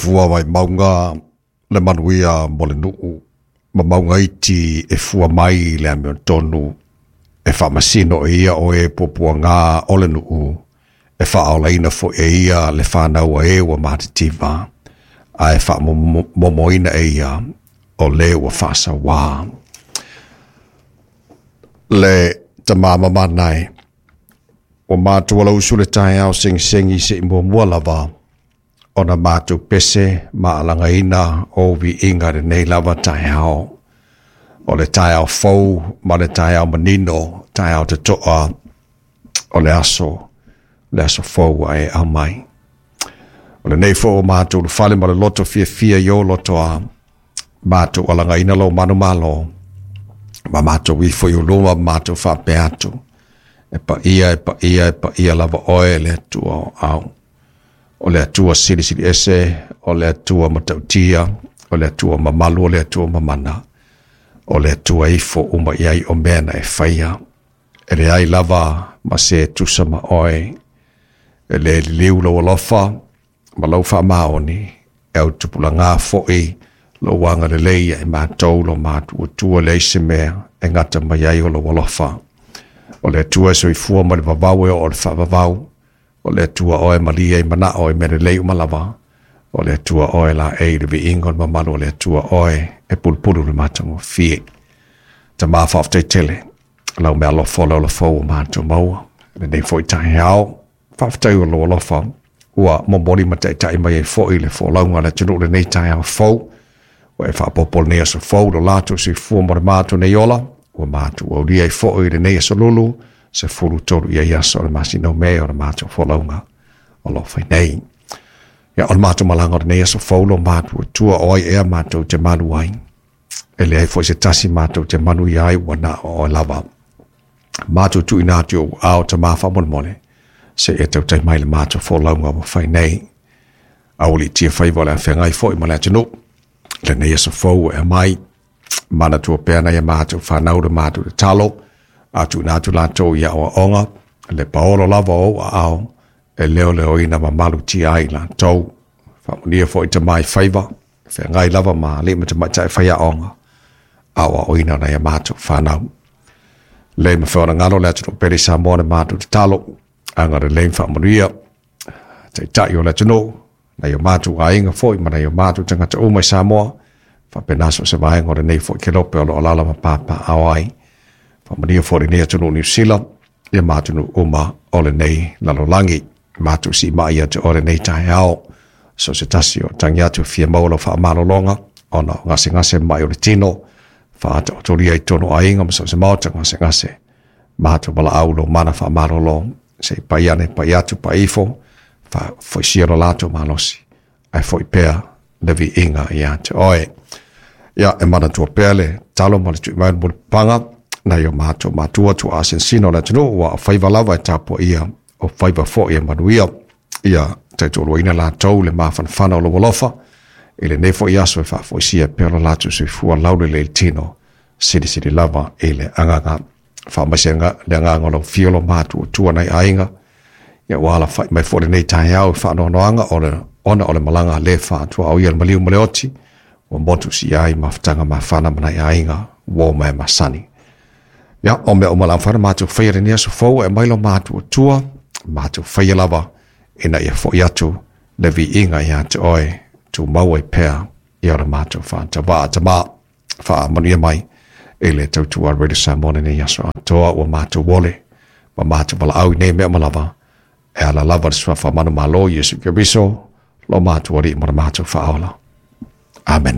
fua mai mauga le manuia mo le nuu, ma mauga iti e fua mai le amiotonu, e faamasino e ia o e puapuaga o le nuu, e faaolaina foi e ia le fanau a e ua matitiva, ae faamomoina e ia o le ua faasauā. Le tama mamanae, ua matou alausu le taeao segisegi se'i muamua lava ona matou pese ma alagaina o viiga lenei lava taeao. O le taeao fou ma le taeao manino, taeao toto'a o le aso fou ua e aumai. O lenei foi ua matou ulufale ma le loto fiafia i ou lotoa, matou alagaina lou manumalo, ma matou ifo i ou luma ma matou faapea atu, e paia, e paia, e paia lava oe le Atua o au. O le Atua silisili ese, o le Atua matautia, o le Atua mamalu, o le Atua mamana, o le Atua ifo uma i ai o mea na e faia. E leai lava ma se tusa ma oe, e le liliu lou alofa ma lau faamaoni, e autupulaga foi lou agalelei ia i matou lo matuatua leai se mea e gata mai ai o lou alofa. O le Atua e soifua ma le vavau e oo i le faavavau, o le Atua oe malie i manao i mea lelei uma lava, o le Atua oe laei i le viiga o le mamalu o le Atua oe e pulupulu le matagofie. Tama faafetai tele, lau mea alofa o le ola fou o matou maua, lenei foi taeao, faafetai o lou alofa, ua momoli ma taitai mai ai foi le folauga a le atunuu lenei taeao fou, ua e faaopoopo lenei aso fou lo latou soifua mo le matou nei ola, ua matou aulia ai foi lenei aso lulu, 13 i ai aso o le masina o Me o le matou folauga o lo o fai nei. Ia, o le matou malaga o lenei aso fou lo matou Atua o ai ea matou te malu ai. E leai foi se tasi matou te manuia ai ua na o oe lava. Matou tuuina atu i ou aao Tama faamolemole, se i e tautai mai le matou folauga ua fai nei. Aualiitia faiva o le a feagai foi ma le atunuu. Lenei aso fou ua e aumai, manatua pea nai a matou fanau le matou tatalo, a tuuina atu latou i aoaoga, le paolo lava o ou aao, e leoleoina mamalutia ai latou. Faamanuia foi tama i faiva, feagai lava ma alii ma tamaitai faiaoga, aoaoina nai a matou fanau. Le mafai ona galo le atunuu pele i Samoa le matou tatalo, agalelei ma faamanuia, taitai o le atunuu, nai o matou aiga foi ma nai o matou tagata uma i Samoa, faapena so o se vaega o lenei foi kelope o lo o alaala ma papaaao ai. Faamanuia foi lenei atunuu Niu Sila, ia ma atunuu uma o lenei lalolagi. Matou siimai ia te oe lenei taeao, so o se tasi o tagi atu e fia maua lau faamalologa, ona o gasegase ma mai o le tino, faataotolia i totonu o aiga ma so o se maota gasegase. Matou valaau lou mana faamalolo, se i pai ane, pai atu, pai ifo, faafoisia lo latou malosi, ae foi pea le viiga ia te oe. Ia, e manatua pea le talo ma le tui mai o le mulipapaga, nai o matou matua tuaa sinosino o le atunuu, ua o faiva lava e tapuaia, o faiva foi e manuia. Ia taitoaluaina latou le mafanafana o lou alofa, i lenei foi aso e faafoisia pea lo latou soifua laulelei i le tino, silisili lava i le agaga. Faamaise le agaga o lau afio lo matuatua nai aiga, ia ua alafai mai foi lenei taeao i faanoanoaga o le ona o le malaga le faatuaoia le maliu ma le oti, ua motu si ai mafutaga mafana ma nai aiga ua o mai masani. Ia, o mea uma la mafai ona matou faia lenei aso fou e aumai lo matuatua, matou faia lava ina ia foi atu le viiga ia te oe, tumau ai pea ia le matou faatavaa. Tama, faamanuia mai i le tautua a Radio Samoa lenei aso atoa, ua matou ole ma matou valaau i nei mea uma lava, e ala lava le suafa manumalo Iesu Keriso, lo matou Alii ma le matou Faaola. Amene.